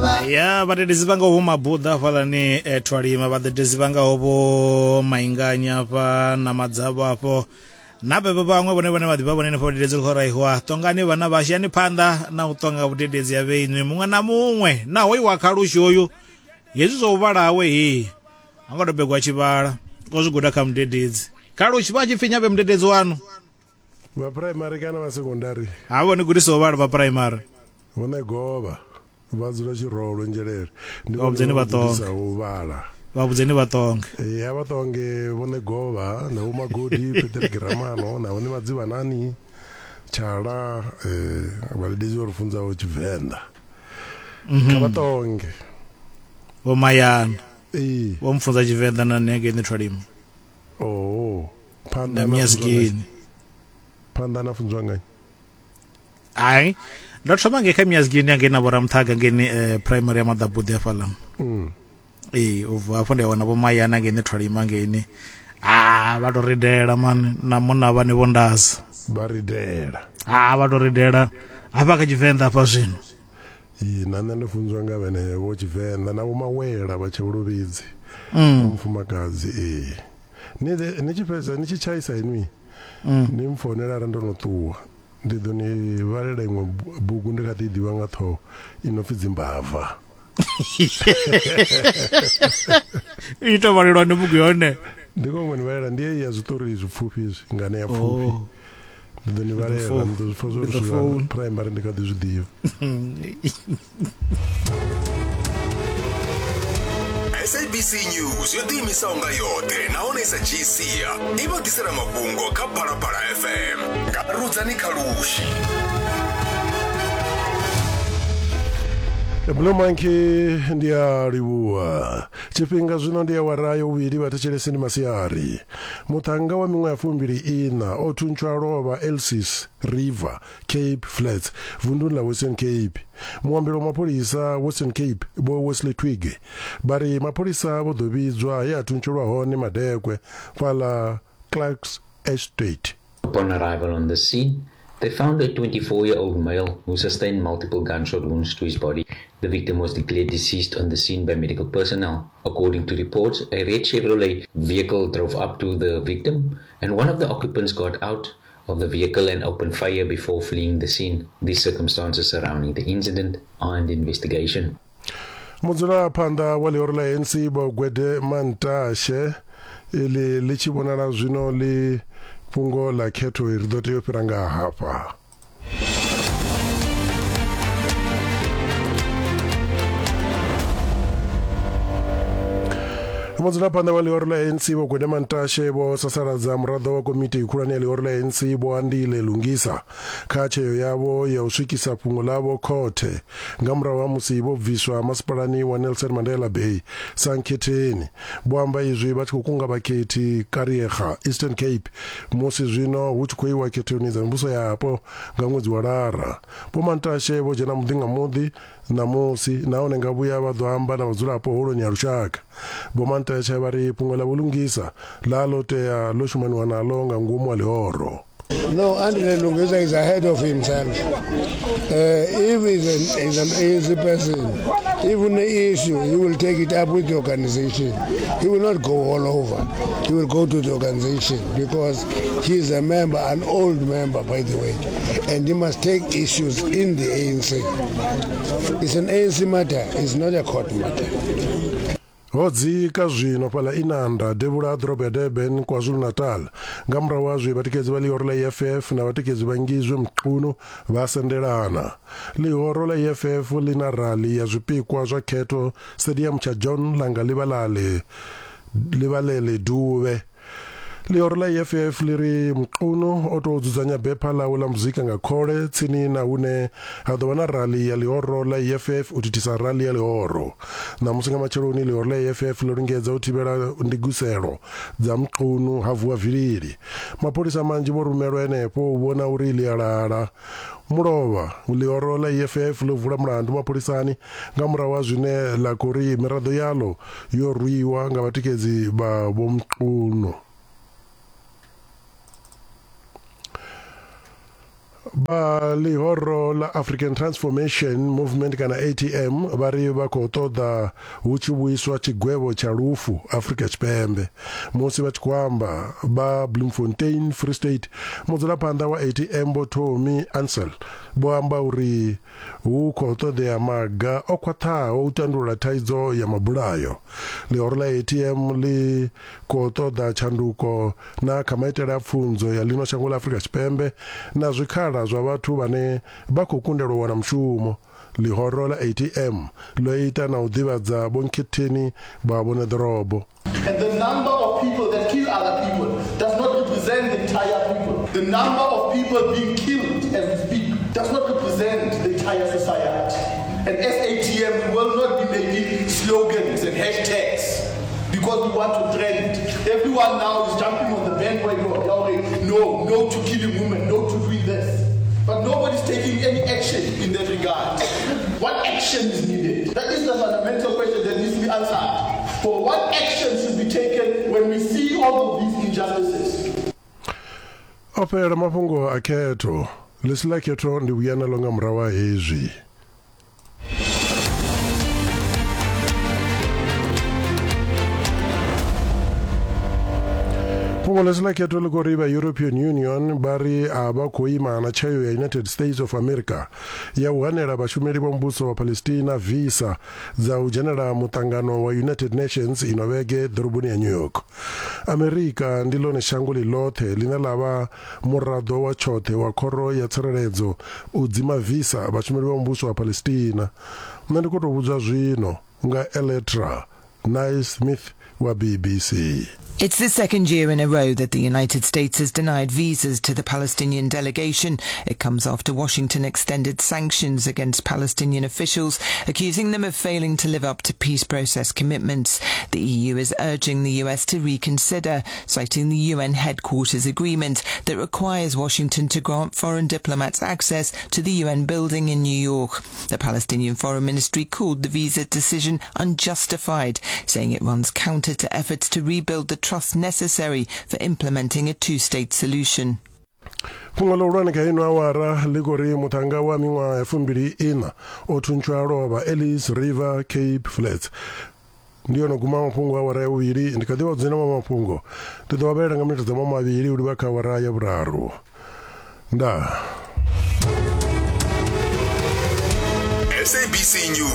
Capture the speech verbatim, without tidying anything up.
Ya vhadededzi vha ngaho vho Mabuḓa hafhaḽani eh, Thwalima, vhadededzi vha ngaho vho Mainganya hafha na Madzavho afho na vhevho vhaṅwe vhone vhane vha ḓivha vhone henefho vhadededzi ri khou raiwa ṱongani vhana vhashu yani phanḓa na u ṱonga vhudededzi ha vheinwi muṅwe na muṅwe na hoyu wa khalushi hoyu hezwi zwa u vhala hawe hei ha ngo to begwa tshivhala o zwi guda kha mudededzi. Khalushi vha tshi pfi nyabe mudededzi wanu vha primary kana vha secondary ha vhone gudisa u vhala vha primary vhone govha vha dzula Tshirolo Nzhelele ndi Vha vhudzeni vha ṱonge. gudisaho u vhala. Vha vhudzeni vha ṱonge. Ya vha ṱonge vhone govha na vho Magodi Peter Giramano na vhone Madzivhanani Tshala eh vhadededzi vho ri funzaho Tshivenḓa. Kha vha ṱonge. Vho Mayana Ee. vho mfunza Tshivenḓa na nṋe ngei Thwalima Oh. Phanḓa na na funzwa Miazgini. phanḓa na funzwa ngani? Hai ndo thoma ngei kha Miazgini ngei na vhoramuthaga ngei eh, primary ya Maḓabuḓi hafhaḽa. Mm. Ee u bva hafho ndi a wana vho Mayana ngei Thwalima ngei. Ah vha to ridela mani na munna vhane vho ndaza. Vha ridela. Ah vha to ridela hafha kha Tshivenḓa hafha zwino. Ee, na nṋe ndo funzwa nga vhenevho Tshivenḓa na vho Mawela vha Tshavhulovhidzi. Mm. Mufumakadzi ee. Ni ni tshi fhedza ni tshi tshaisa inwi. Mm. Ni mfounela arali ndo no ṱuwa. Ndi ḓo ni vhalela iṅwe bugu ndi kha ḓi ḓivha nga ṱhoho i no pfi Dzimbava. I to vhalelwa ndi bugu yone. Ndi khou ni vhalela ndi heyi ya zwiṱori zwipfufhi izwi ngane ya pfufhi. Oh. Ndi ḓo ni vhalela ni ḓo zwi pfa zwo Ndi ḓo ri founa. primary ndi kha ḓi zwi ḓivha. S A B C News yo ḓiimisaho nga yoṱhe nahone sa dzhii sia i vha ḓisela mafhungo kha Phalaphala F M nga Rudzani Khalushi. Blue Monkey ndi a livhuwa. Tshifhinga zwino ndi awara ya vhuvhili vhathetshelesi ndi masiari. Muṱhannga wa miṅwaha ya fumbili ina o thuntshwa lovha Elsies River, Cape Flats, vunduni ḽa Western Cape. Muambeli wa mapholisa Western Cape Vho Wesley Twigg vha ri mapholisa vho ḓo vhidzwa he a thuntshelwa hone madekwe fhaḽa Clarks Estate. Upon arrival on the scene, they found a twenty-four-year-old male who sustained multiple gunshot wounds to his body. The victim was declared deceased on the scene by medical personnel. According to reports, a red Chevrolet vehicle drove up to the victim and one of the occupants got out of the vehicle and opened fire before fleeing the scene. The circumstances surrounding the incident are under investigation. Mudzulaphanḓa wa ḽihoro ḽa A N C Vho Gwede Mantashe iḽi ḽi tshi vhonala zwino ḽi fhungo ḽa khetho ri ḓo tea u fhira nga hafha. Mudzulaphanḓa wa ḽihoro ḽa A N C Vho Gwede Mantashe vho sasaladza muraḓo wa komiti khulwane ya ḽihoro ḽa A N C Vho Andile Lungisa kha tsheo yavho ya u swikisa fhungo ḽavho khothe nga murahu ha musi vho bviswa masipalani wa Nelson Mandela Bay sa nkhetheni. Vho amba izwi vha tshi khou kunga vhakhethi Kariega, Eastern Cape musi zwino hu tshi khou iwa khethoni dza mivhuso yapo nga ṅwedzi wa Lara. Vho Mantashe vho dzhena muḓi nga muḓi ṋamusi nahone nga vhuya vha ḓo amba na vhadzulapo holoni ya lushaka. Vho Mantashe vha ri fhungo ḽa vhulungisa ḽa ḽo tea ḽo shumaniwa naḽo nga ngomu ha ḽihoro. No, Andile Lungisa is ahead of himself. Uh, if he's an, he's an A N C person, even the issue, he will take it up with the organization. He will not go all over. He will go to the organization because he is a member, an old member, by the way, and he must take issues in the A N C. It's an A N C matter. It's not a court matter. Ho dzika zwino fhaḽa Inanda devhula ha ḓorobo ya Durban KwaZulu-Natal nga murahu ha zwe vhatikedzi vha ḽihoro ḽa E F F na vhatikedzi vha Ngizwe Mchunu vha sendelana. Ḽihoro ḽa E F F ḽi na rali ya zwipikwa zwa khetho stadium tsha John Langa Ḽivalale Ḽivalele Duvhe. Ḽihoro ḽa E F F ḽi ri Mchunu o tou dzudzanya bepha ḽawe ḽa muzika nga khole tsini na hune ha ḓo vha na rali ya ḽihoro ḽa E F F u thithisa rali ya ḽihoro. Ṋamusi nga matsheloni ḽihoro ḽa E F F ḽo lingedza u thivhela ndiguselo dza Mchunu ha vuwa vilili. Mapholisa manzhi vho rumelwa henefho u vhona uri ḽi a lala. Mulovha ḽihoro ḽa E F F ḽo vula mulandu mapholisani nga murahu ha zwine ḽa khou ri miraḓo yaḽo yo rwiwa nga vhatikedzi vha Vho Mchunu. Vha ḽihoro ḽa African Transformation Movement kana A T M vha ri vha khou ṱoḓa hu tshi vhuiswa tshigwevho tsha lufu Afrika Tshipembe. Musi vha tshi khou amba vha Bloemfontein Free State, mudzulaphanḓa wa A T M Vho Tommy Ansel vho amba uri hu khou ṱoḓea maga o khwaṱhaho u tandulula thaidzo ya mabulayo. Ḽihoro ḽa A T M ḽi khou ṱoḓa tshanduko na kha maitele a pfunzo ya ḽino shango ḽa Afrika Tshipembe na zwikhala zwa vhathu vhane vha khou kundelwa u wana mushumo. Ḽihoro ḽa A T M ḽo ita na u ḓivhadza vhonkhetheni vha vhone ḓorobo. And the number of people that kill other people does not represent the entire people. The number of people being killed as we speak does not represent the entire society. And as A T M, we will not be making slogans and hashtags because we want to trend. Everyone now is jumping on the bandwagon. No, no to killing women, no to doing this. But nobody's taking any action in that regard. What action is needed? That is the fundamental question that needs to be answered. For what action should be taken when we see all of these injustices? O fhela mafhungo a khetho. Ḽisi ḽa khetho ndi vhuya naḽo nga murahu ha hezwi. Fhungo ḽisi ḽa khetho ḽi khou ri vha European Union vha ri a vha khou ima na tsheo ya United States of America ya u hanela vhashumeli vha muvhuso wa Palestina visa dza u dzhenela muṱangano wa United Nations ino vhege ḓoroboni ya New York. Amerika ndi ḽone shango ḽi ḽoṱhe ḽine ḽa vha muraḓo wa tshoṱhe wa khoro ya tsireledzo u dzima visa vhashumeli vha muvhuso wa Palestina. Nṋe ndi khou tou vhudzwa zwino nga Eletra Naismith wa B B C. It's the second year in a row that the United States has denied visas to the Palestinian delegation. It comes after Washington extended sanctions against Palestinian officials, accusing them of failing to live up to peace process commitments. The E U is urging the U S to reconsider, citing the U N headquarters agreement that requires Washington to grant foreign diplomats access to the U N building in New York. The Palestinian Foreign Ministry called the visa decision unjustified, saying it runs counter to efforts to rebuild the trust necessary for implementing a two-state solution. Fhungo ḽihulwane kha ino awara ḽi khou ri muṱhannga wa miṅwaha ya fumbili ina o thuntshwa lovha Ellis River Cape Flats. Ndi yono guma mafhungo awara ya vhuvhili, ndi kha ḓi vha dzina wa mafhungo ndi ḓo vha vhalela nga minete dza mavhili u livha kha awara ya vhuraru. Ndaa. S A B C News.